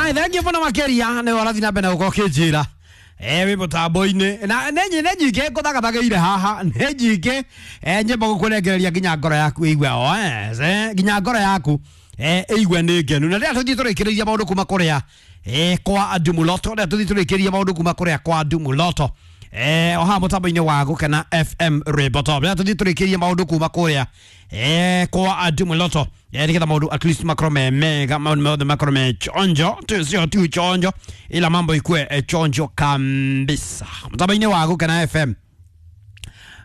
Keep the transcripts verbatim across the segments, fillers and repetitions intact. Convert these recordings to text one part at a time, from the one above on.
Alright, thank you mũno makĩria nĩ ũrathiĩ na mbere na gũkorwo ũkĩnjĩra eh wĩ mũtambo-inĩ na nĩ nyi- nĩ nyingĩ ngũthagathagĩire haha nĩ nyingĩ eh nyĩmbo gũkũnengereria nginya ngoro yaku ĩigue oes eh nginya ngoro yaku eh ĩigue nĩ ngenu na rĩrĩa tũthiĩ tũrĩkĩrĩria maũndũ kuma kũrĩa eh kwa Ndumuloto rĩrĩa tũthiĩ tũrĩkĩrĩria maũndũ kuma kũrĩa kwa Ndumuloto eh o haha mũtambo-inĩ wa Gũkena F M Rwĩmbo Top rĩrĩa tũthiĩ tũrĩkĩrĩrie maũndũ kuma kũrĩa eh kwa Ndumuloto eh nĩgetha maũndũ at least makorwo me mega maũndũ mothe makorwo me chonjo tu sio tu chonjo ila mambo ikue eh, chonjo kabisa mũtambo-inĩ wa Gũkena F M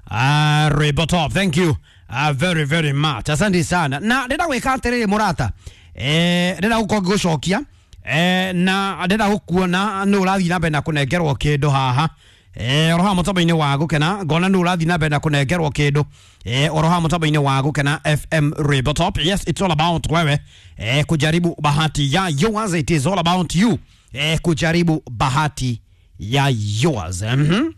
Ah, Rwĩmbo Top, thank you uh, very very much. Asante sana. Na ndĩrenda gwĩka atĩrĩrĩ mũrata. Eh, ndĩrenda gũkorwo ngĩgũcokia. Eh, na ndĩrenda gũkuona nĩ ũrathiĩ na mbere na kũnengerwo kĩndũ haha. Eh, oro haha mũtambo-inĩ wa Gũkena, ngona nĩ ũrathiĩ na mbere na kũnengerwo kĩndũ. Eh, oro haha mũtambo-inĩ wa Gũkena F M Rwĩmbo Top. Yes, it's all about wewe. Eh, kujaribu bahati ya yours. It is all about you. Eh, kujaribu bahati ya yours. Mhm.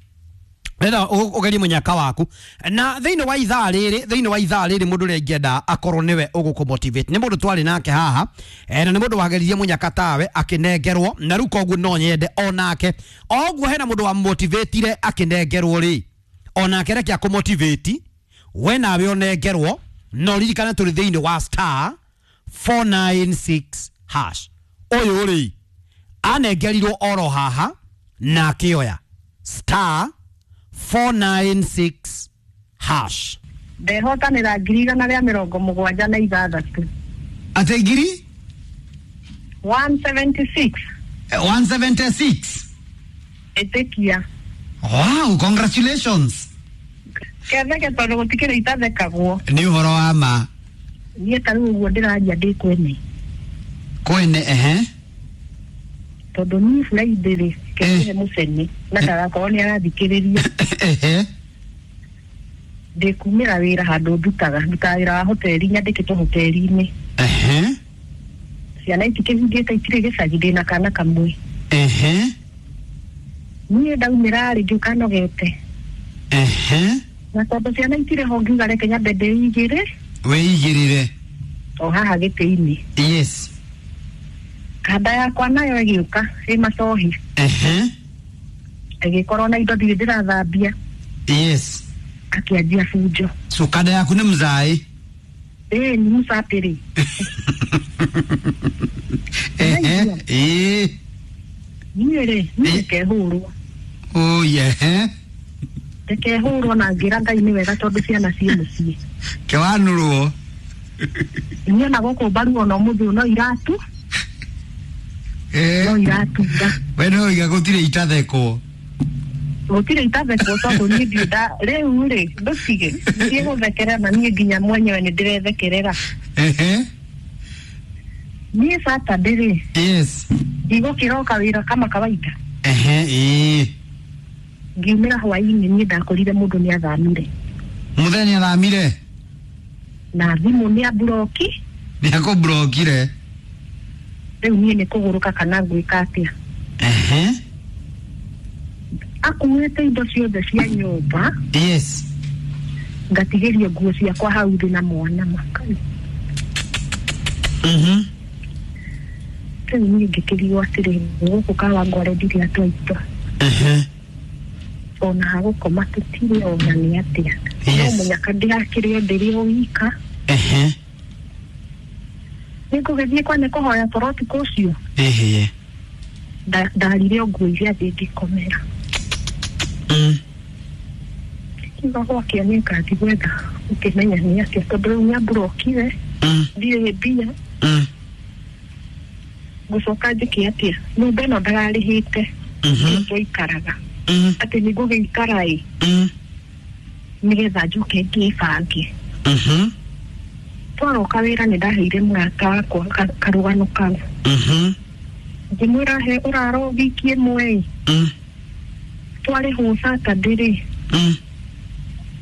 Renda ugerie munyaka waku na thiini wa ithaa riri thiini wa ithaa riri mundu uria ingienda akorwo niwe ugukumotivate ni mundu twari nake haha eh, na ni mundu wageririe munyaka tawe akinengerwo na riu koguo no nyende onake oguo hena mundu wa motivatire akinengerwo ri onake reke akumotivate we nawe unengerwo no ririkane turi thiini wa star four nine six hash uyu ri anengerirwo oro haha na akioya star four nine six hash. Ndehotanĩra ngiri igana rĩa mĩrongo mũgwanja na ithathatũ. Ate ngiri? one seventy-six. one seventy-six. Ĩtĩkia. Wow, congratulations. Ketheke tondũ gũtikĩrĩ itathekagwo. Nĩ ũhoro wa ma. Niĩ ta rĩu ũguo ndĩraria ndĩ kwene. Kwene, ehe. Tondũ niĩ Friday rĩ, ketheke mũcene na ndagakorwo nĩ arathikĩrĩria. Ehe. Ndĩkumĩra wĩra handũ ndutaga, ndutaga wĩra wa hoteli, nyandĩkĩtwo hoteli-inĩ. Ehe. Ciana itikĩhingĩte itirĩ gĩcagi, ndĩna kana kamwe. Ehe. Niĩ ndaumĩra rĩ, ngĩũka nogete. Ehe. Na tondũ ciana itirĩ ho ngiuga reke nyambe ndĩigĩre. Wĩigĩrĩre. O haha gĩtĩ-inĩ. Yes. Kanda yakwa nayo ĩgĩũka ĩ macohi. Ehe. Ĩgĩkorwo na indo ndirĩ ndĩrathambia. Yes. Akĩanjia bunjo. So kanda yaku nĩ mzaĩ? Ĩĩ, nĩ mũcatĩrĩ. Ehe. Ĩĩ. Niĩ rĩ, niĩ ndikehũrwo. Oh, yeah. Ndikehũrwo na ngĩra Ngai nĩ wega tondũ ciana ciĩ mũciĩ. Kĩwanũrwo. Niĩ ona gũkũ mbaru ona ũmũthĩ no iratu. Eh. No iratura. We no iga gũtirĩ itathekwo. Gũtirĩ itathekwo tondũ niĩ ndirĩ nda rĩu rĩ ndũtige ndiĩ gũthekerera na niĩ nginya mwenyewe nĩ ndĩrethekerera. Ehe. Niĩ Saturday rĩ. Yes. Ndigũkĩroka wĩra kama kawaida. Ehe, ĩĩ. Ngiumĩra hwaĩ-inĩ niĩ ndakorire mũndũ nĩ athamire. Mũthenya nĩ athamire? Na thimũ nĩ amburoki. Nĩ akũmburokire. Rĩu niĩ nĩ kũgũrũka kana ngwĩka atĩa. Ehe. Akuĩte indo ciothe cia nyũmba. Yes. Ngatigĩrio nguo ciakwa hau thĩ na mwana makai. Mhm. Rĩu niĩ ngĩkĩrigwo atĩrĩ, gũkũ Kawangware ndirĩ atwaitwa. Ehe. Ona hagũkoma tũtirĩ ona nĩ atĩa. Yes. No mũnyaka ndĩrakĩrĩ o ndĩrĩ o wika. Ehe. Nĩngũgĩthiĩ kwa nĩ kũhoya toro ũtukũ ũcio. Ehe. Ndarire o nguo iria ngĩkomera. Mm. Kiuga gwakĩa nĩ ngathiĩ gwetha ũkĩmenya nĩ atĩa tondũ rĩu nĩamburokire. Mm. Ndirĩ mbia. Mm. Ngũcoka njĩke atĩa? Nyũmba ĩno ndararĩhĩte. Mhm. Twaikaraga. Mm. Atĩ nĩngũgĩikara ĩ. Mm. Nĩgetha njoke ngĩbange. Mhm. Twaroka wĩra nĩ ndaheire mũrata wakwa karũgano kau. Mhm. Ngĩmwĩra he ũraro wiki ĩmwe ĩ. Mm. Twarĩhwo Saturday rĩ. Mm.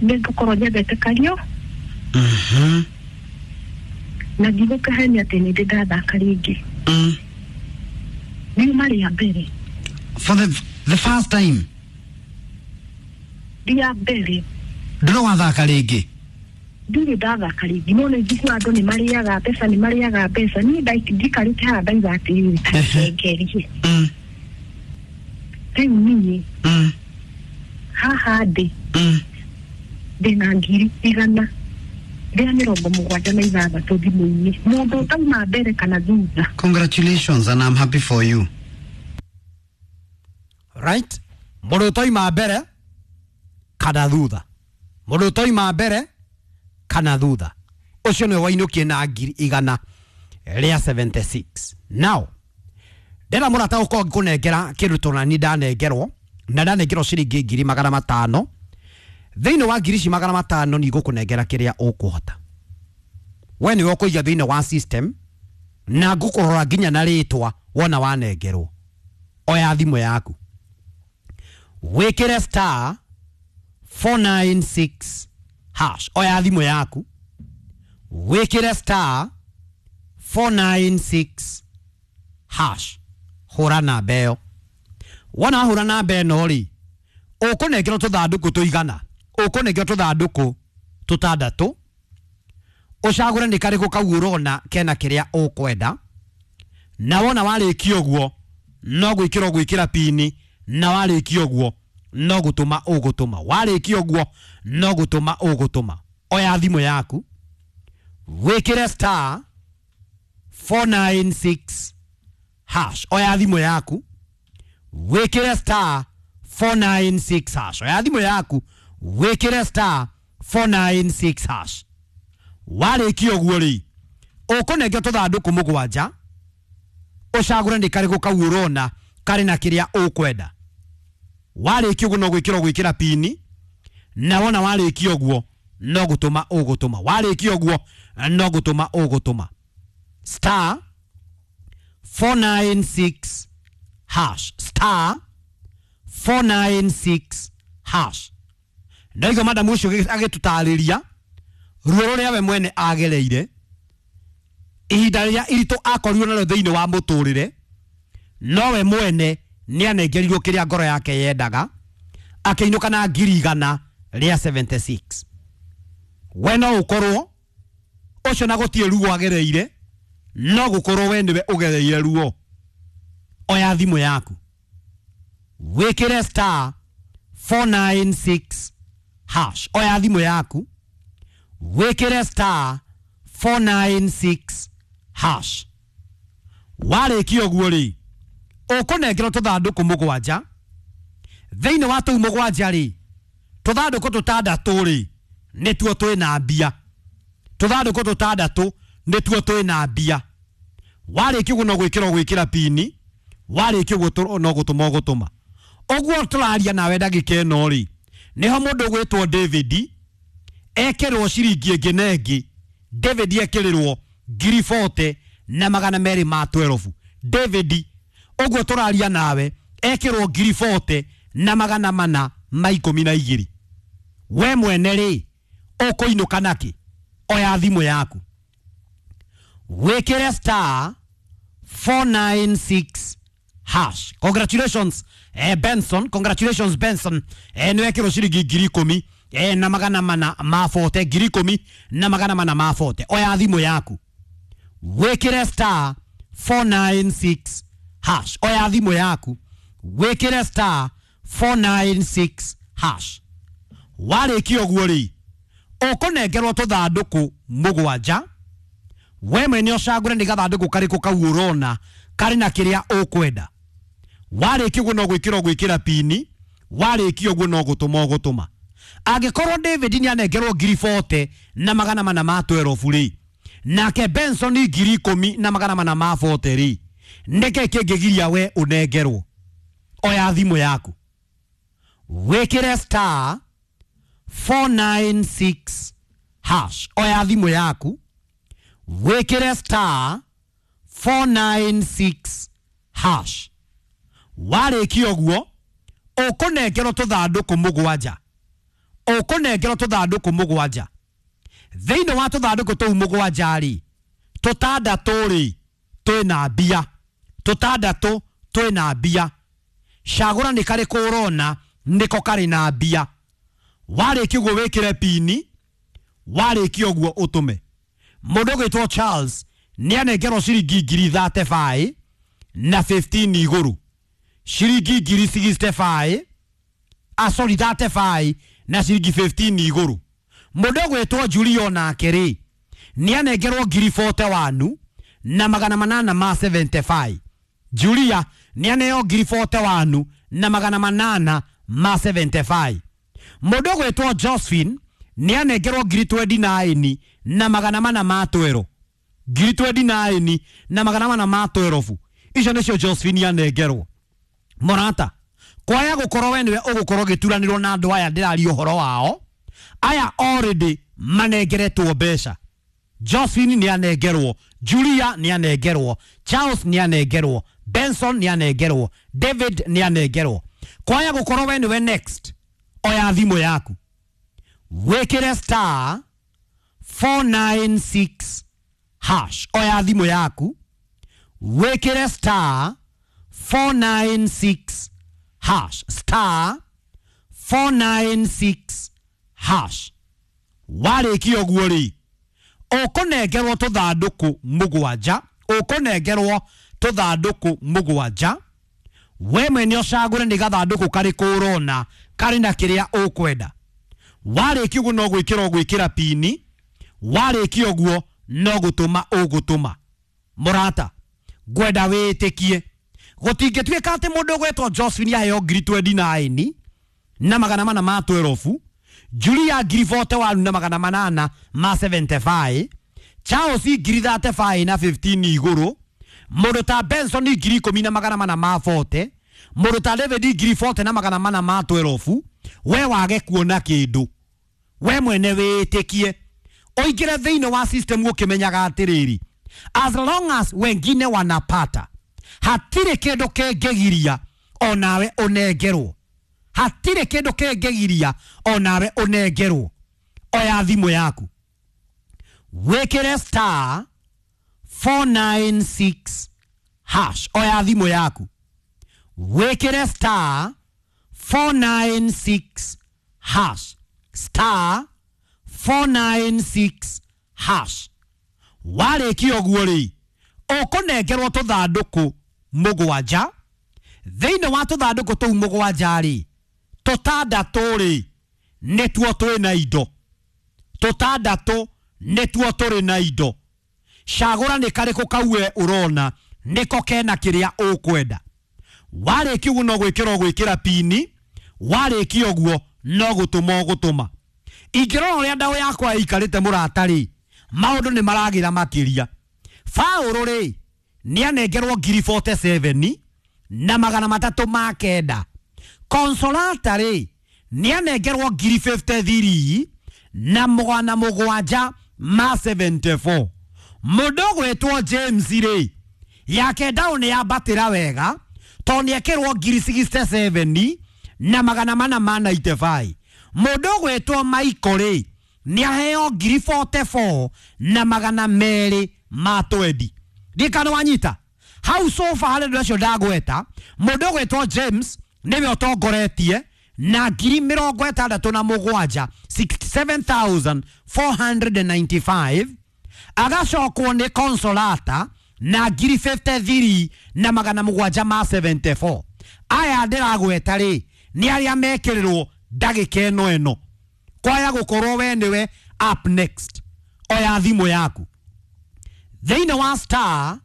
Nĩngũkorwo nyendete kario. Mhm. Na ndigũkĩhenia atĩ nĩ ndĩ ndathaka rĩngĩ. Mm. Riuma rĩa mbere. For the, the first time. Rĩa mbere. Ndũrĩ wathaka rĩngĩ? Ndirĩ ndathaka rĩngĩ, no nĩ njiguaga andũ nĩ marĩaga mbeca, nĩ marĩaga mbeca. Niĩ nda- njikarĩte haha ndaiga atĩrĩrĩ, tacengerie. Mm. Rĩu niĩ Mm. haha ndĩ Mm. ndĩna ngiri igana rĩa mĩrongo mũgwanja na ithathatũ thimũ-inĩ, mũndũ ũtauma mbere kana thutha. Congratulations, and I'm happy for you. Right, mũndũ ũtoima mbere kana thutha, mũndũ ũtoima mbere kana thutha, ũcio nĩwe wainũkie na ngiri igana rĩa mĩrongo mũgwanja na ithathatũ. Now ndĩna mũrata ũkorwo ngĩkũnengera kĩndũ tũnani ndanengerwo, na ndanengerwo ciringi ngiri magana matano. Thĩinĩ wa ngiri ici magana matano nĩ igũkũnengera kĩrĩa ũkũhota we nĩwe ũkũiga thĩinĩ wa system, na ngũkũrora nginya na rĩtwa wona wanengerwo. Oya thimũ yaku, wĩkĩre star four nine six hash. Oya thimũ yaku, wĩkĩre star four nine six hash, hũra namba ĩyo. Wona hũra namba ĩno rĩ, ũkũnengerwo tũthandũkũ tũigana, ũkũnengerwo tũthandũkũ tũtandatũ, ũcagũre nĩ karĩkũ kau ũrona kena kĩrĩa ũkwenda. Na wona warĩkia ũguo, no gwĩkĩra ũgwĩkĩra pini, na warĩkia ũguo no gũtũma ũgũtũma. Warĩkia ũguo no gũtũma ũgũtũma. Oya thimũ yaku, wĩkĩre star four nine six hash. Oya thimũ yaku, wĩkĩre star four nine six hash. Oya thimũ yaku, wĩkĩre star four nine six hash. Warĩkia ũguo rĩ, ũkũnengera tũthandũkũ mũgwanja, ũcagũre nĩ karĩkũ kau ũrona karĩ na kĩrĩa ũkwenda. Warĩkia ũguo no gwĩkĩra ũgwĩkĩra pini, na wona warĩkia ũguo no gũtũma ũgũtũma. Warĩkia ũguo no gũtũma ũgũtũma. Star four nine six hash, star four nine six hash. Ndaigua madamu ũcio agĩtũtarĩria ruo rũrĩa we mwene agereire, ihinda rĩrĩa iritũ akorirwo narĩo thĩinĩ wa mũtũrĩre, nowe mwene nĩ anengerirwo kĩrĩa ngoro yake yendaga, akĩinũka na ngiri igana rĩa mĩrongo mũgwanja na ithathatũ. We no ũkorwo ũcio na gũtirĩ ruo agereire, no gũkorwo we nĩwe ũgereire ruo. Oya thimũ yaku, wĩkĩre star four nine six hash. Oya thimũ yaku, wĩkĩre star four nine six hash. Warĩkia ũguo rĩ, ũkũnengerwo tũthandũkũ mũgwanja. Thĩinĩ wa tũu mũgwanja rĩ, tũthandũkũ tũtandatũ rĩ nĩtuo twĩna mbia. Tũthandũkũ tũtandatũ nĩtuo twĩna mbia. Warĩkia ũguo no gwĩkĩra ũgwĩkĩra pini, warĩkia ũguo no gũtũma ũgũtũma. Ũguo tũraria nawe ndagĩka ĩno rĩ, nĩho mũndũ ũgwĩtwo David ekĩrwo ciringi ĩngĩ na ĩngĩ. David ekĩrĩrwo ngiri mĩrongo ĩna na magana merĩ ma ikũmi na igĩrĩ. David ũguo tũraria nawe ekĩrwo ngiri mĩrongo ĩna na magana mana ma ikũmi na igĩrĩ. We mwene rĩ, ũkũinũka nakĩ? Oya thimũ yaku, wĩkĩre star four nine six hash. Congratulations, eh, Benson. Congratulations, Benson. eh, nĩ wekĩrwo ciringi ngiri ikũmi eh, na magana mana ma mĩrongo ĩna, ngiri ikũmi na magana mana ma mĩrongo ĩna. Oya thimũ yaku, wĩkĩre star four nine six hash. Oya thimũ yaku, wĩkĩre star four nine six hash. Warĩkia ũguo rĩ, ũkũnengerwo tũthandũkũ mũgwanja. We mwene ũcagũre nĩ gathandũkũ karĩkũ kau ũrona karĩ na kĩrĩa ũkwenda. Warĩkia ũguo no gwĩkĩra ũgwĩkĩra pini, warĩkia ũguo no gũtũma ũgũtũma. Angĩkorwo David nĩ anengerwo ngiri mĩrongo ĩna na magana mana ma ikũmi na igĩrĩ rĩ, nake Benson ngiri ikũmi na magana mana ma mĩrongo ĩna rĩ, nĩkĩ kĩngĩgiria we ũnengerwo? Oya thimũ yaku, wĩkĩre star four nine six hash. Oya thimũ yaku, wĩkĩre star four nine six hash. Warĩkia ũguo ũkũnengerwo tũthandũkũ mũgwanja, ũkũnengerwo tũthandũkũ mũgwanja. Thĩinĩ wa tũthandũkũ tũu mũgwanja rĩ, tũtandatũ rĩ twĩna mbia, tũtandatũ twĩna mbia. Cagũra nĩ karĩkũ ũrona nĩko karĩ na mbia. Warĩkia ũguo wĩkĩre pini. Warĩkia ũguo ũtũme. Mũndũ ũgwĩtwo Charles nĩ anengerwo ciringi ngiri thirty-five na fifteen igũrũ. Ciringi ngiri sixty-five, ah sorry, thirty-five na ciringi fifteen igũrũ. Mũndũ ũgwĩtwo Julio nake rĩ nĩ anengerwo ngiri forty-one na magana manana ma seventy-five. Julia nĩ aneo ngiri forty-one na magana manana ma seventy-five. Mũndũ ũgwĩtwo Josephine nĩ anengerwo ngiri twenty-nine na magana mana ma twelve. Ngiri twenty-nine na magana mana ma twelve. Icio nĩcio Josephine anengerwo. Mũrata, kwaya gũkorwo we nĩwe ũgũkorwo ũgĩturanĩrwo na andũ aya ndĩraria ũhoro wao, aya already manengeretwo mbeca. Josephine nĩ anengerwo, Julia nĩ anengerwo, Charles nĩ anengerwo, Benson nĩ anengerwo, David nĩ anengerwo. Kwaya gũkorwo we nĩwe next, oya thimũ yaku wĩkĩre star four nine six hash. Oya thimũ yaku wĩkĩre star four nine six hash, star four nine six hash. Warĩkia ũguo rĩ, ũkũnengerwo tũthandũkũ mũgwanja, ũkũnengerwo tũthandũkũ mũgwanja. We mwene ũcagũre nĩ gathandũkũ karĩkũ ũrona karĩ na kĩrĩa ũkwenda. Warĩkia ũguo no gwĩkĩra ũgwĩkĩra pini, warĩkia ũguo no gũtũma ũgũtũma. Mũrata, ngwenda wĩtĩkie gũtingĩtuĩka atĩ mũndũ ũgwĩtwo Josephine aheo ngiri twenty-nine na magana mana ma twelve, Julia ngiri forty-one na magana manana ma seventy-five, Charles ngiri thirty-five na fifteen igũrũ, mũndũ ta Benson ngiri ikũmi na magana mana ma forty, mũndũ ta David ngiri forty na magana mana ma twelve. We wage kuona kĩndũ, we mwene wĩtĩkie ũingĩre thĩinĩ wa system ũkĩmenyaga atĩrĩrĩ, as long as wengine wanapata, hatirĩ kĩndũ kĩngĩgiria onawe ũnengerwo. Hatirĩ kĩndũ kĩngĩgiria onawe ũnengerwo. Oya thimũ yaku wĩkĩre star four nine six hash. Oya thimũ yaku wĩkĩre star four nine six hash, star four nine six hash. Warĩkia ũguo rĩ, ũkũnengerwo tũthandũkũ mũgwanja. Thĩinĩ wa tũthandũkũ tũu mũgwanja rĩ, tũtandatũ rĩ nĩtuo twĩ na indo, tũtandatũ nĩtuo tũrĩ na indo. Cagũra nĩ karĩkũ kau we ũrona nĩko kena kĩrĩa ũkwenda. Warĩkia ũguo no gwĩkĩra ũgwĩkĩra pini, warĩkia ũguo no gũtũma ũgũtũma. Ingĩrora ũrĩa ndaũ yakwa ĩikarĩte mũrata rĩ, maũndũ nĩ maragĩra makĩria. Faũrũ rĩ nĩ anengerwo ngiri forty-seven na magana matatũ ma kenda. Consolata rĩ nĩ anengerwo ngiri fifty-three na magana mũgwanja ma seventy-four. Mũndũ ũgwĩtwo James rĩ, yake ndaũ nĩ yambatĩra wega tondũ nĩ ekĩrwo ngiri sixty-seven na magana mana ma ninety-five. Mũndũ ũgwĩtwo Michael rĩ nĩ aheo ngiri forty-four na magana merĩ ma twenty. Ndikana wanyita hau sofa harĩ andũ acio ndagweta, mũndũ ũgwĩtwo James nĩwe ũtongoretie na ngiri mĩrongo ĩtandatũ na mũgwanja, sixty-seven thousand four hundred ninety-five. Agacokwo nĩ Consolata na ngiri fifty-three na magana mũgwanja ma seventy-four. Aya ndĩragweta rĩ nĩ arĩa mekĩrĩrwo ndagĩka ĩno ĩno. Kwaya gũkorwo we nĩwe up next, oya thimũ yaku thĩinĩ wa star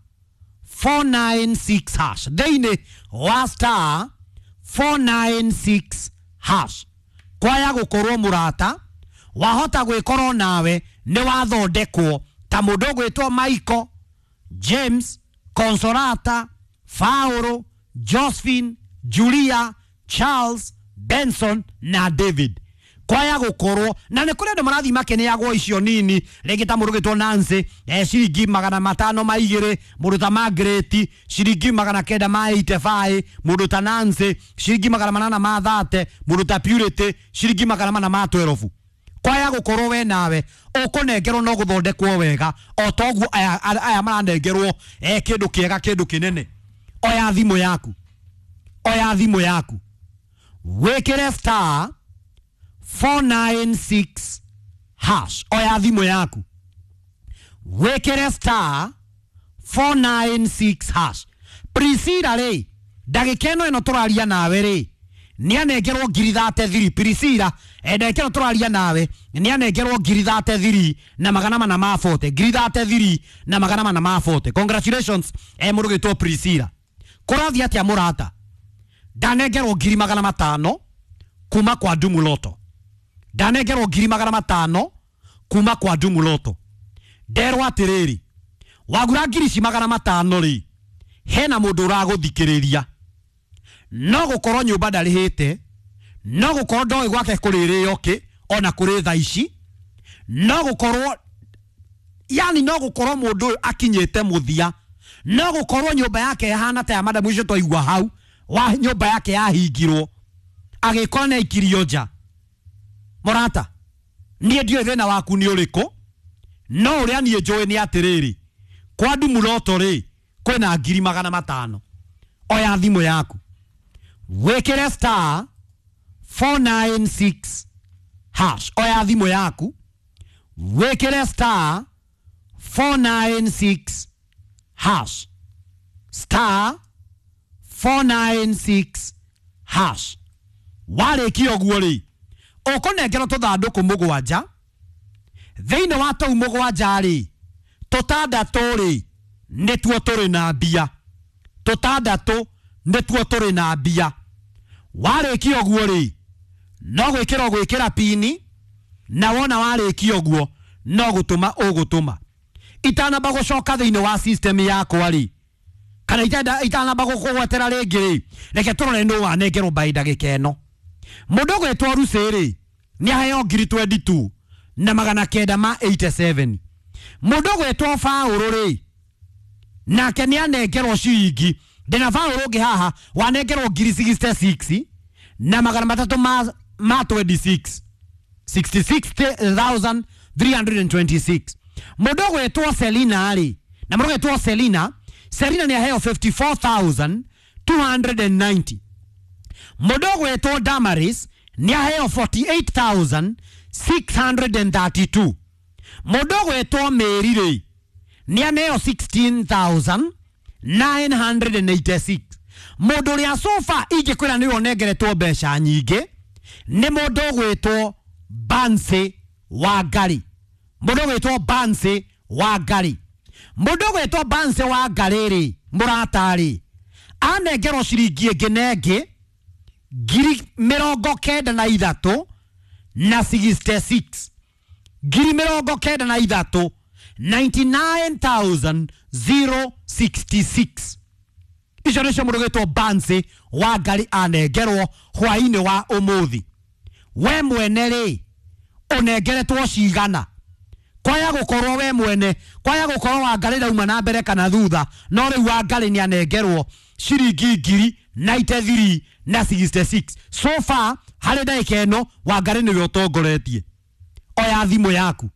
four nine six hash, thĩinĩ wa star four nine six hash. Kwaya gũkorwo mũrata wahota gwĩkorwo nawe nĩ wathondekwo ta mũndũ ũgwĩtwo Michael, James, Consolata, Fauro, Josephine, Julia, Charles, Benson na David. Kwaya gukorwo na nĩ kũrĩ andũ marathiĩ makĩneagwo icio nini, rĩngĩ ta mũndũ ũgĩtwo Nancy, eh, ciringi magana matano ma igĩrĩ, mũndũ ta Margaret ciringi magana kenda ma eighty-five, mũndũ ta Nancy ciringi magana manana ma thate, mũndũ ta Purity ciringi magana mana ma twelve. Kwaya gukorwo we nawe ũkũnengerwo no gũthondekwo wega o toguo aya, aya maranengerwo eh, kĩndũ kĩega kĩndũ kĩnene. Oya thimũ yaku, oya thimũ yaku, wĩkĩre star four nine six hash. Oya thimũ yaku wĩkĩre star four nine six hash. Priscilla rĩ, ndagĩka ĩno ĩno tũraria nawe rĩ, nĩanengerwo ngiri thate thiri. Priscilla, ndagĩka ĩno tũraria nawe nĩanengerwo ngiri thate thiri na magana mana ma forty, ngiri thate thiri na magana mana ma forty. Congratulations eh mũndũ gwĩtwo Priscilla. Kũrathiĩ atĩa mũrata? Ndanengerwo ngiri magana matano kuma kwa Dumu Lotto. Ndanengerwo ngiri magana matano kuma kwa Dumu Lotto. Nderwo atĩrĩrĩ, wagura ngiri ici magana matano rĩ, hena mũndũ ũragũthikĩrĩria, no gũkorwo nyũmba ndarĩhĩte, no gũkorwo ndoĩ gwake kũrĩrĩo kĩ ona kũrĩ thaa ici, no gũkorwo yani no gũkorwo mũndũ ũyũ akinyĩte mũthia, no gũkorwo nyũmba yake ĩhana ta ya madamu icio twaigua hau, wa nyũmba yake yahingirwo agĩkorwo nĩ aikirio nja. Mũrata, niĩ ndiũĩ thĩna waku nĩ ũrĩkũ, no ũrĩa niĩ njũĩ nĩ atĩrĩrĩ, kwa Dumu Lotto rĩ kwĩna ngiri magana matano. Oya thimũ yaku wĩkĩre star four nine six hash. Oya thimũ yaku wĩkĩre star four nine six hash, star four nine six hash. Warĩkia ũguo rĩ, ũkũnengerwo tũthandũkũ mũgwanja. Thĩinĩ wa tũu mũgwanja rĩ, tũtandatũ rĩ nĩtuo tũrĩ na mbia, tũtandatũ nĩtuo tũrĩ na mbia. Warĩkia ũguo rĩ, no gwĩkĩra ũgwĩkĩra pini, na wona warĩkia ũguo no gũtũma ũgũtũma. Itanamba gũcoka thĩinĩ wa system yakwa rĩ, kana itanamba gũkũgwetera rĩngĩ rĩ, reke tũrore nũ wanengerwo mbaĩ ndagĩka ĩno. Mũndũ ũgwĩtwo Lucy rĩ, nĩ aheo ngiri twenty two na magana kenda ma eighty seven. Mũndũ ũgwĩtwo Faũrũ rĩ, nake nĩ anengerwo ciringi, ndĩna Faũrũ ũngĩ haha wanengerwo ngiri sixty six na magana matatũ ma, ma twenty six, sixty six thousand three hundred and twenty six. Mũndũ ũgwĩtwo Selina rĩ, na mũndũ ũgwĩtwo Selina, Selina nĩ aheo fifty four thousand two hundred and ninety. Mũndũ ũgwĩtwo Damaris nĩ aheo forty eight thousand six hundred and thirty two. Mũndũ ũgwĩtwo Mary rĩ, nĩ aneo sixteen thousand nine hundred and eighty six. Mũndũ ũrĩa sofa ingĩkwĩra nĩwe ũnengeretwo mbeca nyingĩ nĩ mũndũ ũgwĩtwo Bansi Wangari. Mũndũ ũgwĩtwo Bansi Wangari. Mũndũ ũgwĩtwo Bansi Wangari rĩ, mũrata rĩ, anengerwo ciringi ĩngĩ na ĩngĩ ngiri mĩrongo kenda na ithatũ na sixty six, ngiri mĩrongo kenda na ithatũ ninety nine thousand zero sixty six. Icio nĩcio mũndũ ũgwĩtwo Bansi Wangari anengerwo hwainĩ wa ũmũthĩ. We mwene rĩ, ũnengeretwo cigana? Kwaya gũkorwo we mwene, kwaya gũkorwo Wangari ndauma na mbere kana thutha, no rĩu Wangari nĩ anengerwo ciringi ngiri ninety three na sixty six. So far harĩ ndagĩka ĩno Wangari nĩwe ũtongoretie. Oya thimũ yaku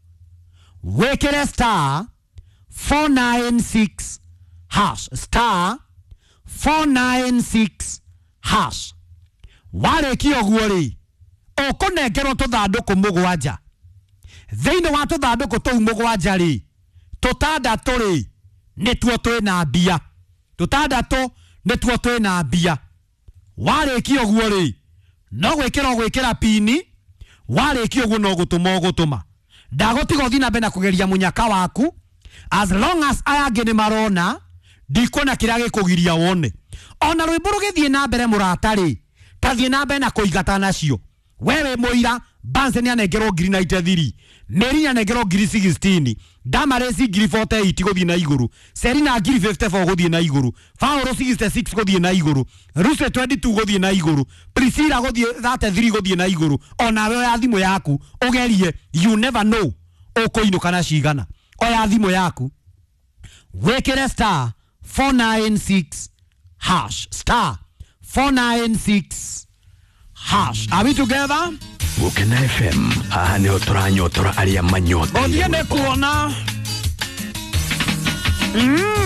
wĩkĩre star four nine six hash, star four nine six hash. Warĩkia ũguo rĩ, ũkũnengerwo tũthandũkũ mũgwanja. Thĩinĩ wa tũthandũkũ tũu mũgwanja rĩ, tũtandatũ rĩ nĩtuo twĩna mbia, tũtandatũ nĩtuo twĩna mbia. Warĩkia ũguo rĩ, no gwĩkĩra ũgwĩkĩra pini. Warĩkia ũguo no gũtũma ũgũtũma. Ndagũtiga ũthiĩ na mbere na kũgeria mũnyaka waku, as long as aya angĩ nĩ marona, ndikuona kĩrĩa gĩkũgiria wone. Ona rwĩmbo rũgĩthiĩ na mbere mũrata rĩ, ta thiĩ na mbere na kũingata nacio. Wewe mũira, Bansi nĩ anengerwo ngiri ninety three, Mary nĩ anengerwo ngiri sixteen, Damaris ngiri forty eight gũthiĩ na igũrũ, Selina ngiri fifty four gũthiĩ na igũrũ, Faũrũ sixty six gũthiĩ na igũrũ, Lucy twenty two gũthiĩ na igũrũ, Priscilla gũthiĩ thirty three gũthiĩ na igũrũ. Onawe oya thimũ yaku ũgerie, you never know ũkũinũka na cigana. Oya thimũ yaku wĩkĩre star four nine six hash, star four nine six hash. Are we together? Gukena F M haha niho turanyotora aria manyoteire. Gũthiĩ nĩ kuona. Mm.